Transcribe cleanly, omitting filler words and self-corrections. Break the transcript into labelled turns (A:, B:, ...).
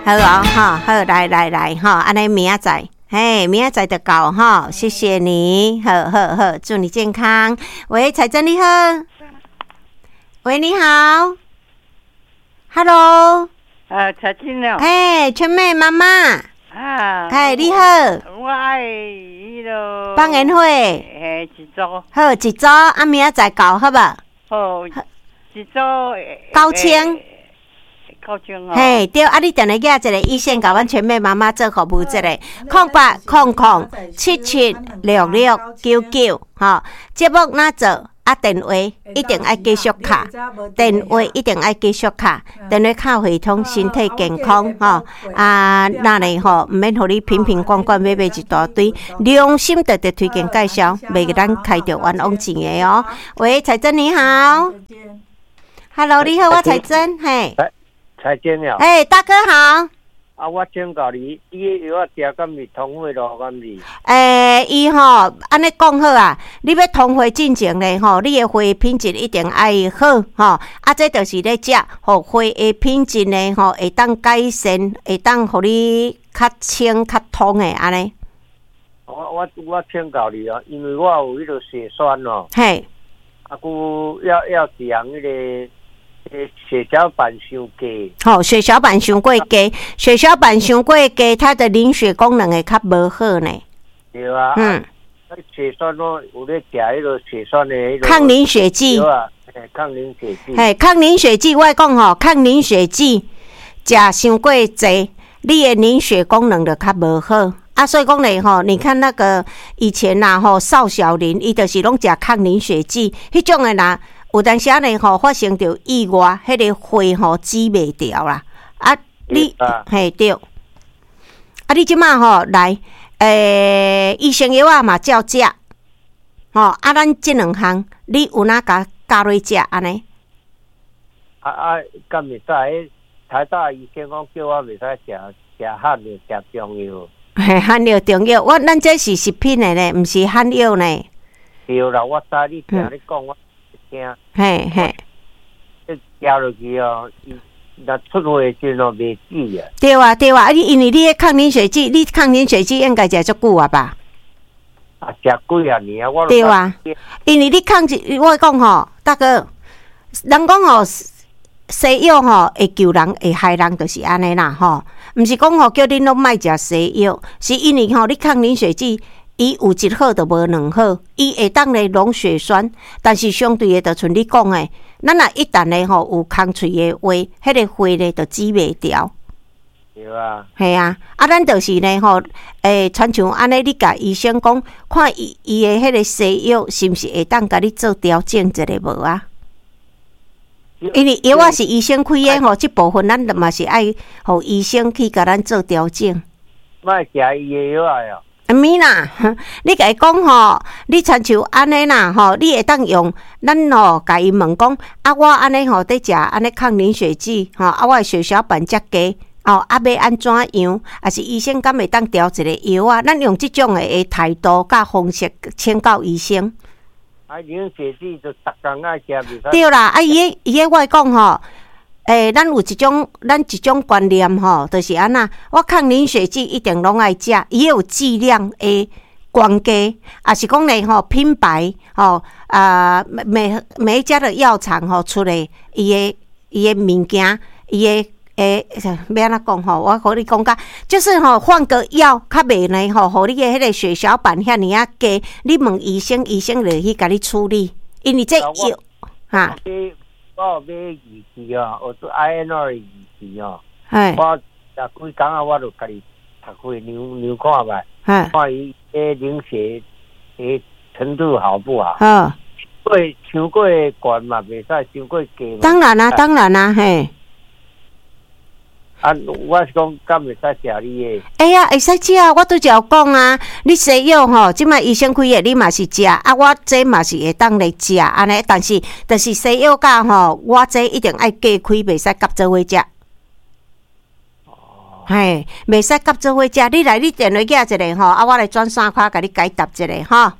A: 好哦，吼，好，來來來，吼，按呢明仔載，嘿，明仔載就到吼，謝謝你，好好好，祝你健康。喂，彩珍你好，喂，你好，Hello，
B: 彩珍哦，
A: 嘿，春妹媽媽，
B: 啊，
A: 嘿，你好，
B: 我愛彼囉
A: 放煙火，
B: 嘿，一組，
A: 好，一組，啊，明仔載到，好無？
B: 好，一組
A: 9000。
B: 9000哦。
A: 嘿，對，啊，你電話寄一个醫生，共阮全美媽媽做服務一个，0800776699，吼，節目若做啊，電話一定愛繼續敲，電話一定愛繼續敲，電話敲會通，身體健康，吼，啊，那呢吼，毋免予你瓶瓶罐罐買買一大堆，良心特特推薦介紹，袂予咱開著冤枉錢的哦。喂，彩珍你好，Hello，你好，我彩珍，嘿。
C: 彩珍啊！
A: 哎，大哥好。
C: 啊，我請教你，你的藥仔食敢是通血路敢是？
A: 欸，伊吼，按呢講好啊，你欲通血進前咧吼，你的血品質一定愛好吼。啊，這就是咧食，予血的品質呢吼，會當改善，會當予你較清較通的按呢。
C: 我請教你哦，因為我有彼個血栓哦。
A: 嘿。
C: 啊，閣猶一項彼個。血小板傷低，
A: 吼，血小板傷過低，血小板傷過低，它的凝血功能會較無好呢。
C: 對啊，血栓我有咧食彼個血栓的彼個
A: 抗凝血劑。
C: 對啊，抗凝血劑。
A: 嘿，抗凝血劑，我講吼，抗凝血劑食傷過濟，你的凝血功能就較無好。啊，所以講咧吼，你看那個以前呐吼，邵小林伊就是攏食抗凝血劑，彼種的若。有當時呢吼，發生著意外，彼個血吼止袂牢啦。啊，你嘿對，啊，你這馬吼來，醫生藥仔嘛照食，吼啊，咱這兩項你有哪共加落食按呢？
C: 啊啊，敢會使？台大醫生講叫我袂使食食罕藥，食中藥。
A: 嘿，罕藥中藥，我咱這是食品的呢，毋是罕藥呢。
C: 對啦，我知你聽你講我。聽，
A: 嘿嘿，
C: 食落去哦，伊若出血時陣哦，袂止啊。
A: 對啊對啊，啊你因為你彼抗凝血劑，你抗凝血劑應該食足久啊吧？
C: 啊，食幾仔年啊，我
A: 對啊，因為你抗我講吼，大哥，人講吼，西藥吼會救人會害人，就是按呢啦吼，毋是講吼叫恁攏莫食西藥，是因為吼你抗凝血劑。伊有一好就無兩好，伊會當咧溶血栓，但是相對的，就像你講的，咱若一旦咧吼有空喙的話，彼個血咧就止袂牢。
C: 對啊。
A: 嘿啊，啊，咱就是咧吼，親像按呢，你共醫生講，看伊伊的彼個西藥是毋是會當共你做調整一下無啊？因為藥仔是醫生開的吼，這部分咱嘛是愛予醫生去共咱做調整。
C: 莫食伊的藥仔哦。
A: 毋啦，你共伊講吼，你親像按呢啦吼，你會當用咱吼，共伊問講，啊，我按呢吼佇食按呢抗凝血劑吼，啊，我的血小板遮低，哦，啊，欲按怎樣？抑是醫生敢會當調一个藥啊？咱用這種的態度佮方式請教醫生。
C: 啊，凝血劑就逐工愛食，袂使。
A: 對啦，啊，伊个我講吼。咱有一種，咱一種觀念吼，就是按怎，我抗凝血劑一定攏愛食，伊有劑量的關係，抑是講咧吼品牌吼啊，每每一家的藥廠吼出的伊的物件，伊的欲按怎講吼？我予你講甲，就是吼換個藥較袂呢吼，予你的彼個血小板遐爾仔低，你問醫生，醫生就去共你處理，因為這藥哈。
C: 我有買儀器哦，我做 INR 儀器哦。我十幾工啊，我就家己讀血量量看覓，看伊彼凝血的程度好不好？過傷過懸嘛，袂使傷過低。
A: 當然啦，當然啦，嘿。
C: 啊，我是講，敢會使食你的？
A: 會啊，會使食啊！我拄才有講啊，你西藥吼，這擺醫生開的，你嘛是食啊。我這嘛是會當來食按呢，但是就是西藥佮吼，我這一定愛隔開，袂使佮做伙食。
C: 哦。
A: 嘿，袂使佮做伙食。你來，你電話寄一下吼，啊，我來轉線卡共你解答一下吼。